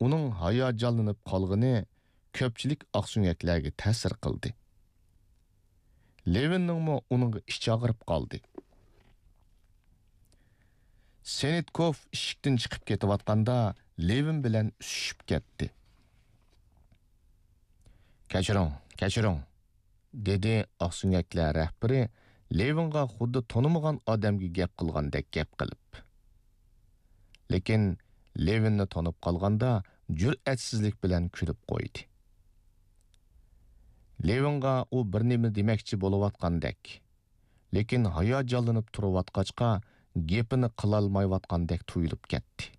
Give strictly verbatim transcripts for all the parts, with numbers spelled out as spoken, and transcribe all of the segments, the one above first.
ئۇنىڭ ھاياجانلىنىپ قالغىنى كۆپچىلىك ئاقسۆڭەكلەرگە تەسىر قىلدى. لېۋىننىڭمۇ ئۇنىڭغا ئىچى ئاغرىپ قالدى. سېنىتكوف ئىشىكتىن چىقىپ كېتىۋاتقاندا، لېۋىن بىلەن ئۈسۈشۈپ كەتتى. «كەچۈرۈڭ، كەچۈرۈڭ.» دېدى ئاقسۆڭەكلەر رەھبىرى لېۋىنغا خۇددى تونۇمىغان ئادەمگە گەپ قىلغاندەك گەپ قىلىپ. لېكىن لېۋىننى تونۇپ قالغاندا جۈرئەتسىزلىك بىلەن كۈلۈپ قويدى. لېۋىنغا ئۇ بىر نېمە دېمەكچى بولۇۋاتقاندەك، لېكىن ھاياجانلىنىپ تۇرۇۋاتقاچقا گېپىنى قىلالمايۋاتقاندەك تۇيۇلۇپ كەتتى.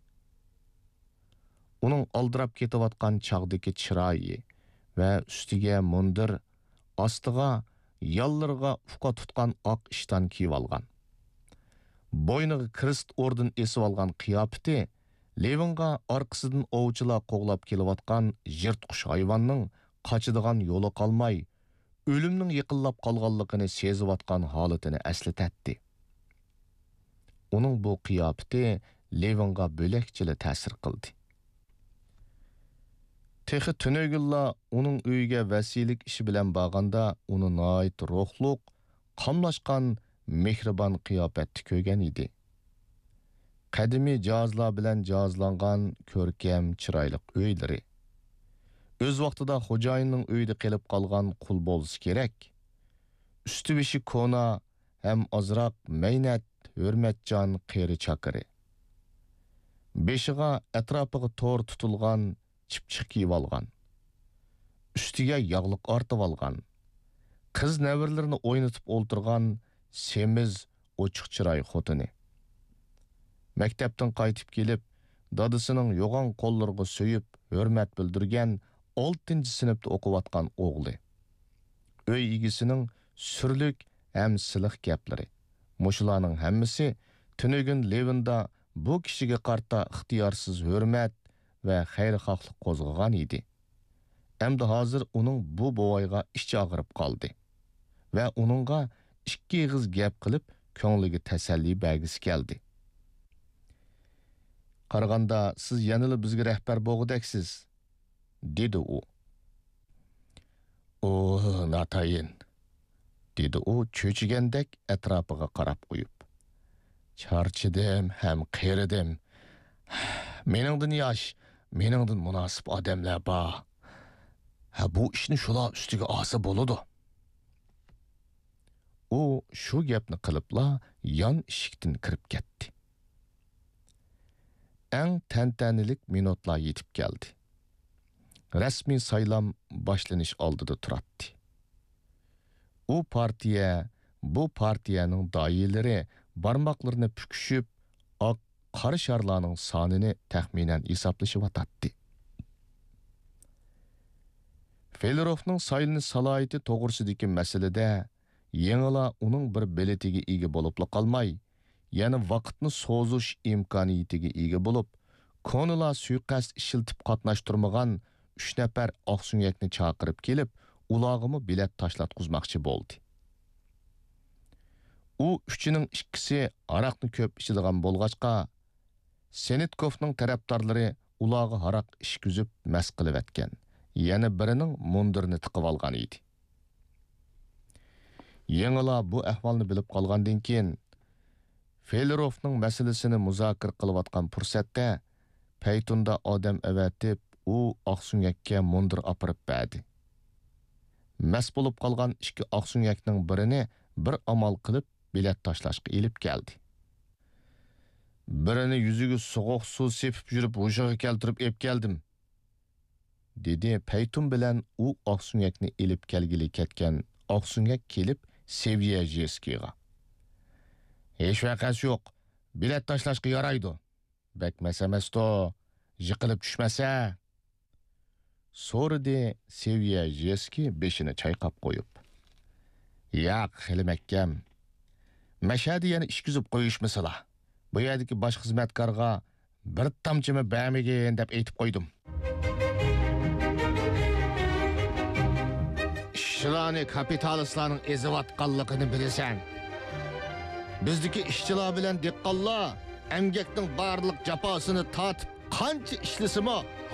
ئۇنىڭ ئالدىراپ كېتىۋاتقان چاغدىكى چىرايى ۋە ئۈستىگە مۇندىر، ئاستىغا يانلىرىغا ئۇقا تۇتقان ئاق ئىشتان كىيىۋالغان، بوينىغا كرېست ئوردېن ئېسىۋالغان قىياپىتى لېۋىنغا ئارقىسىدىن ئوۋچىلار قوغلاپ كېلىۋاتقان يىرتقۇچ ھايۋاننىڭ قاچىدىغان يولى قالماي، ئۆلۈمنىڭ يېقىنلاپ قالغانلىقىنى سېزىۋاتقان ھالىتىنى ئەسلىتەتتى. ئۇنىڭ بۇ قىياپىتى لېۋىنغا بۆلەكچىلا تەسىر قىلدى. تېخى تۈنۈگۈنلا ئۇنىڭ ئۆيىگە ۋەسىيلىك ئىشى بىلەن بارغاندا ئۇنى ناھايىتى روھلۇق، قاملاشقان، مېھرىبان قىياپەتتە كۆرگەن ئىدى. قەدىمىي جاھازلار بىلەن جاھازلانغان كۆركەم، چىرايلىق ئۆيلىرى. ئۆز ۋاقتىدا خوجايىننىڭ ئۆيىدە قېلىپ قالغان قۇل بولسا كېرەك. ئۈستى-بېشى كونا ھەم ئازراق مەينەت، ھۆرمەتچان قېرى چاكىرى. بېشىغا، ئەتراپىغا تور تۇتۇلغان چىپچىق كىيىۋالغان. ئۈستىگە ياغلىق ئارتىۋالغان. قىز نەۋرىلىرىنى ئوينىتىپ ئولتۇرغان سېمىز، ئوچۇق چىراي خوتۇنى. مەكتەپتىن قايتىپ كېلىپ، دادىسىنىڭ يوغان قوللىرىغا سۆيۈپ، ھۆرمەت بىلدۈرگەن ئالتىنچى سىنىپتا ئوقۇۋاتقان ئوغلى. ئۆي ئىگىسىنىڭ سۈرلۈك ھەم سىلىق گەپلىرى. مۇشۇلارنىڭ ھەممىسى تۈنۈگۈن لېۋىندا بۇ كىشىگە قارىتا ئىختىيارسىز ھۆرمەت ۋە خەيرخاھلىق قوزغىغان ئىدى. ئەمدى ھازىر ئۇنىڭ بۇ بوۋايغا ئىچى ئاغرىپ قالدى ۋە ئۇنىڭغا ئىككى ئېغىز گەپ قىلىپ، كۆڭلىگە تەسەللى بەرگۈسى كەلدى. «قارىغاندا، سىز يەنىلا بىزگە رەھبەر بولغۇدەكسىز»، دېدى ئۇ. «ئۇ، ناتايىن»، دېدى ئۇ چۆچۈگەندەك ئەتراپىغا قاراپ قويۇپ. «چارچىدىم ھەم قېرىدىم. مېنىڭدىن ياش، مېنىڭدىن مۇناسىپ ئادەملەر بار. ھە، بۇ ئىشنى شۇلار ئۈستىگە ئالسا بولىدۇ.» ئۇ شۇ گەپنى قىلىپلا يان ئىشىكتىن كىرىپ كەتتى. ئەڭ تەنتەنىلىك مىنۇتلار يېتىپ كەلدى. رەسمىي سايلام باشلىنىش ئالدىدا تۇراتتى. ئۇ پارتىيە، بۇ پارتىيەنىڭ داھىيلىرى بارماقلىرىنى پۈكۈشۈپ، ئاق، قارا شارلارنىڭ سانىنى تەخمىنەن ھېسابلىشىۋاتاتتى. فېلېروفنىڭ سايلىنىش سالاھىيىتى توغرىسىدىكى مەسىلىدە يېڭىلا ئۇنىڭ بىر بېلىتىگە ئىگە بولۇپلا قالماي، يەنە ۋاقىتنى سوزۇش ئىمكانىيىتىگە ئىگە بولۇپ، كونىلار سۇيىقەست ئىشلىتىپ قاتناشتۇرمىغان ئۈچ نەپەر ئاقسۆڭەكنى چاقىرىپ كېلىپ، ئۇلارغىمۇ بېلەت تاشلاتقۇزماقچى بولدى. ئۇ ئۈچىنىڭ ئىككىسى ھاراقنى كۆپ ئىچىدىغان بولغاچقا، سېنىتكوفنىڭ تەرەپدارلىرى ئۇلارغا ھاراق ئىچكۈزۈپ مەست قىلىۋەتكەن، يەنە بىرىنىڭ مۇندىرىنى تىقىۋالغان ئىدى. يېڭىلا بۇ ئەھۋالنى بىلىپ قالغاندىن كېيىن، فېلېروفنىڭ مەسىلىسىنى مۇزاكىرە قىلىۋاتقان پۇرسەتتە، پەيتۇندا ئادەم ئەۋەتىپ، ئۇ ئاقسۆڭەككە مۇندىر ئاپىرىپ بەردى. مەست بولۇپ قالغان ئىككى ئاقسۆڭەكنىڭ بىرىنى بىر ئامال قىلىپ بېلەت تاشلاشقا ئېلىپ كەلدى. «بىرىنى يۈزىگە سوغۇق سۇ سېپىپ يۈرۈپ ھوشىغا كەلتۈرۈپ ئېلىپ كەلدىم»، دېدى پەيتۇن بىلەن ئۇ ئاقسۆڭەكنى ئېلىپ كەلگىلى كەتكەن ئاقسۆڭەك كېلىپ سېۋيەژېسكىيغا. «ھېچ ۋەقەسى يوق، بېلەت تاشلاشقا يارايدۇ. بەك مەس ئەمەستۇ، يىقىلىپ چۈشمەسە؟» سورىدى سېۋيەژېسكىي بېشىنى چايقاپ قويۇپ. «ياق، خېلى مەھكەم. مەشەدە يەنە ئىچكۈزۈپ قويۇشمىسىلا. بۇ يەردىكى باش خىزمەتكارغا بىر تامچىمۇ بەرمىگىن دەپ ئېيتىپ قويدۇم.» «ئىشچىلارنى كاپىتالىستلارنىڭ ئېزىۋاتقانلىقىنى بىلىسەن. بىزدىكى ئىشچىلار بىلەن دېھقانلار ئەمگەكنىڭ بارلىق جاپاسىنى تارتىپ، قانچە ئىشلىسىمۇ،